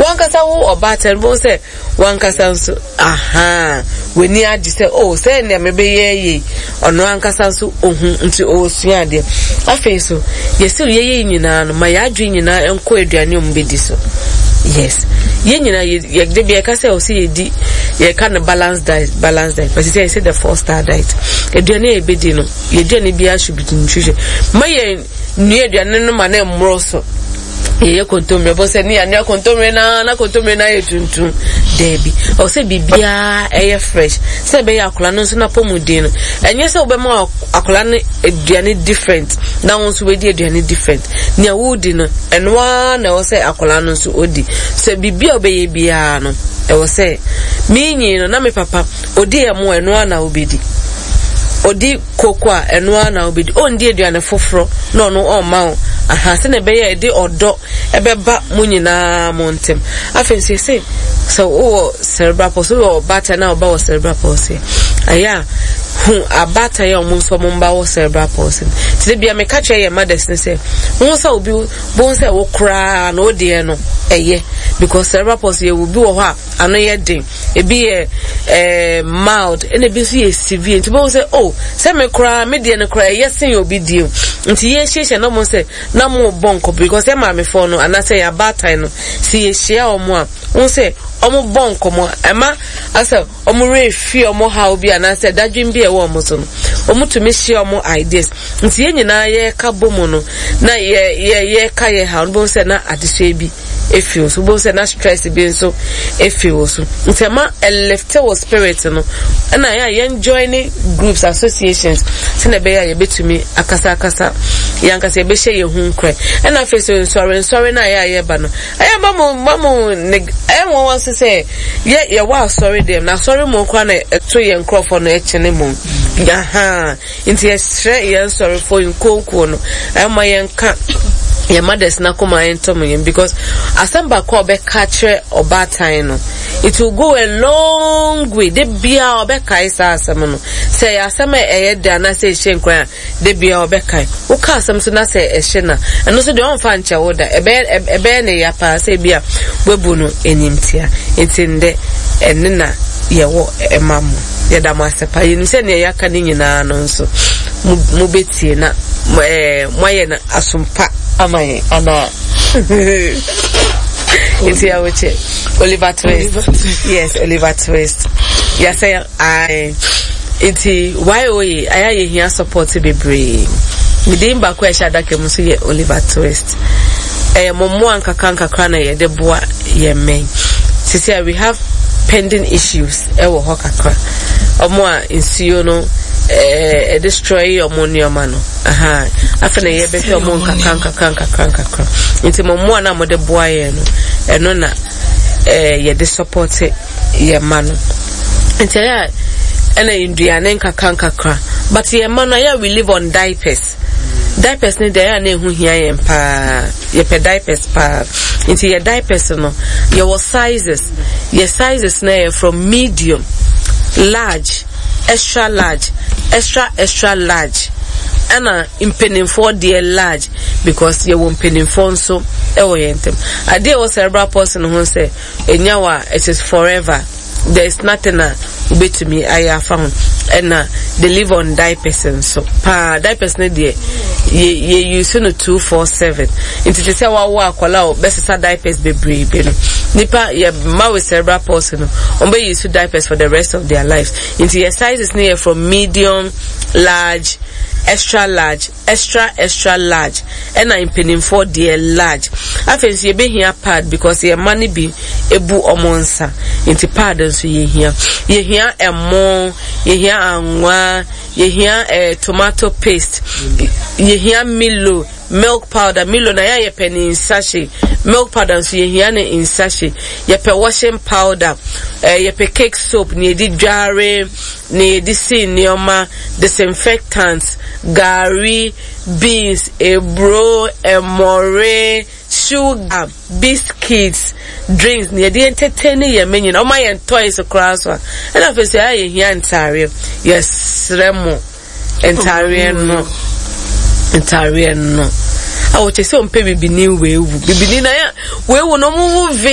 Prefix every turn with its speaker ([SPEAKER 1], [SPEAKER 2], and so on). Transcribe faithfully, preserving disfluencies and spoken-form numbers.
[SPEAKER 1] Wankasa wo ɔbaatan bo sɛ wankasa nso aha w'ani agye sɛ, oh, sɛ nea mebɛyɛ yie. Ɔno ankasa nso ohu nti ɔresua adeɛ. Afei so yɛsɛ yɛyɛ nyinaa no ma yɛadwe nyinaa nkɔ aduane a ɔmo bɛdi so. Yes, yɛn nyinaa yɛ yɛde bi yɛka sɛ ɔsɛ yɛdi, yɛka no balance diet, balance diet, but sɛ yɛsɛ the Four Star Diet. Aduane a yɛbɛdi no, yɛduane biara should be nutrition. Ma yɛn nua aduane no ma na mmoro so. Yɛyɛ kontomire bɔ sɛ ne yɛanoa kontomire na na kontomire na ayɛ tuntum, daabi. Ɔwɔ sɛ biribiara ɛyɛ fresh sɛ ɛbɛyɛ akwadaa no nso n'apɔmuden no. Ɛnyɛ sɛ wobɛma akwadaa no aduane different na wɔn nso bɛdi aduane different. Nea wodi no, ɛno ara na ɛwɔ sɛ akwadaa no nso odi. Sɛ biribi a wobɛyɛ biara no, ɛwɔ sɛ minyi no na me papa odi ɛmo, ɛno ara na wobɛdi. Odi koko a, ɛno ara na wobɛdi. Ɔndi aduane foforɔ na ɔno ɔmma wo aha sɛnea ɛbɛyɛ ɛde ɔdɔ ɛbɛba mo nyinaa mo ntɛm. Afei nso yɛsɛ sɛ wowɔ cerebral palsy, wowɔ ɔbaatan na ɔba wɔ cerebral palsy, ɛyɛ a hu abaatan a ɔmo nso ɔmo mba wɔ cerebral palsy. Nti de bia meka kyerɛ yɛn mothers ne sɛ wɔn sɛ obi wɔn sɛ wo koraa na o deɛ no ɛyɛ, because cerebral palsy yɛ obi wɔ hɔ a ano yɛ den, ebi yɛ ɛɛ mild, ɛna ebi nso yɛ severe. Nti wɔn sɛ, oh, sɛ me koraa me deɛ no koraa ɛyɛ sen obi deɛ. Nti yɛhyehyɛ na wɔn sɛ na mo bɔ nkɔ, because yɛ maamefoɔ no anaasɛ yɛ abaatan no, si yɛhyia wɔn a, wɔn sɛ wɔn bɔ nkɔmɔ, ɛma asɛ wɔn werɛ fi wɔn haw bi anaasɛ dadwen bi a ɛwɔ wɔn so no, wɔn tumi hyia wɔn ideas. Nti yɛn nyinaa yɛreka bɔ mu no na yɛ yɛ yɛreka yɛ haw no, bɔn sɛ na adesua bi efi wo so, bɔn sɛ na stress bi nso efi wo so. Nti ɛma ɛlift wɔ spirit no. Ɛna yɛ a yɛn join groups, associations, sɛnɛ ɛbɛyɛ a yɛbɛtumi akasa akasa, yɛn ankasa yɛbɛhyɛ yɛn ho nkorɛ. Ɛna afei so nsɔre nsɔre na yɛ a yɛba no, ɛyɛ ba mo ba mo ne ɛyɛ wɔn wɔn so sɛ yɛ yɛwɔ asɔre dɛm na asɔre mu koraa na ɛto yɛn nkorɔfoɔ no ɛkyene mu ahan. Nti yɛsrɛ yɛn nsɔrefoɔ nkonkon no, ɛma yɛn ka yɛn mothers na kɔma yɛn tɔm yɛn, because asɛm baako a ɔbɛka kyerɛ ɔbaatan no, it will go a long way. De bia ɔbɛkae saa asɛm no, sɛ ɛyɛ asɛm a ɛyɛ de anaasɛ ɛhyɛ nkran a, de bia ɔbɛkae. Woka asɛm so na sɛ ɛhyɛ na ɛno nso deɛ, ɔmfa nkyɛ wo da. Ɛbɛyɛ ɛbɛyɛ ne ya paa sɛ ebi a wabu no animtia. Nti ndɛ ɛne na yɛwɔ ɛma mo, yɛda mo ase pa. Yɛnim sɛ nea yɛaka ne nyinaa no nso mo mo bɛtie na mo ɛɛ moayɛ no asompa ama yɛn anaa. Nti yɛwokyɛ Oliver Twist. Yes, Oliver Twist, yɛsɛ ae. Nti Y O A ayɛ a yɛhia support bebree. Medin baako a ɛhyɛ adaka mu nso yɛ Oliver Twist. Ɛyɛ mo mmoa nkakra nkakra na yɛde boa yɛn mmɛn. Sisi a we have pending issues ɛwɔ hɔ kakra, ɔmo a nsuo no ɛɛ ɛdestroy ɔmo nneɛma no aha. Afei na yɛbɛhwɛ ɔmo nkakra nkakra nkakra nkakra. Nti mo mmoa na mode boa yɛn no, ɛno na ɛɛ yɛde support yɛn mma no. Nti ɛyɛ a ɛna nduane nkakra nkakra, but yɛn mma no, ɛyɛ a we live on diapers. Diapers ne deɛ, ɛyɛ a na ɛho hia yɛn paa. Yɛpɛ diapers paa. Nti yɛ diapers no, yɛwɔ sizes. Yɛ sizes no yɛ from medium, large, extra large, extra extra large, ɛna mpanimfoɔ deɛ large, because yɛwɔ mpanimfoɔ nso ɛwɔ yɛn ntam. Adeɛ ɛwɔ cerebral palsy no ho sɛ ɛnya wɔ a, it is forever. There is nothing a wobɛtumi ayɛ afa ho. Ɛna they live on diapers nso paa. Diapers no deɛ, yɛ yɛ use no two four seven. Nti te sɛ wawo akwadaa a bɛsesa diapers bebree bi no, nipa yɛ mma with cerebral palsy no, wɔn bɛ use diapers for the rest of their lives. Nti yɛ sizes no yɛ from medium, large, extra large, extra extra large, ɛna mpanimfoɔ deɛ large. Afei nso yɛbɛhia pad, because yɛn mma no bi ebu ɔmo nsa, nti pad nso yɛhia. Yɛhia ɛmo, yɛhia anwa, yɛhia ɛɛ tomato paste, yɛhia Milo, milk powder. Milo na yɛ yɛpɛ ne in sachet, milk powder nso yɛhia ne in sachet. Yɛpɛ washing powder, ɛɛ yɛpɛ cake soap ne yɛde dware, ne yɛde si nneɛma, disinfectant, gari, beans, eburo, ɛmɔre, sugar, biscuits, drinks ne yɛde entertain yɛn mɛ nyinaa. Ɔma yɛn toys koraa so a, ɛna afei sɛ ɛyɛ yɛhia ntaareɛ. Yɛsrɛ mo, ntaareɛ no, ntaareɛ no a wɔkyɛ sɛ ɔmpɛ bibini weewu bibini na yɛ weewu no, ɔmo wu vee.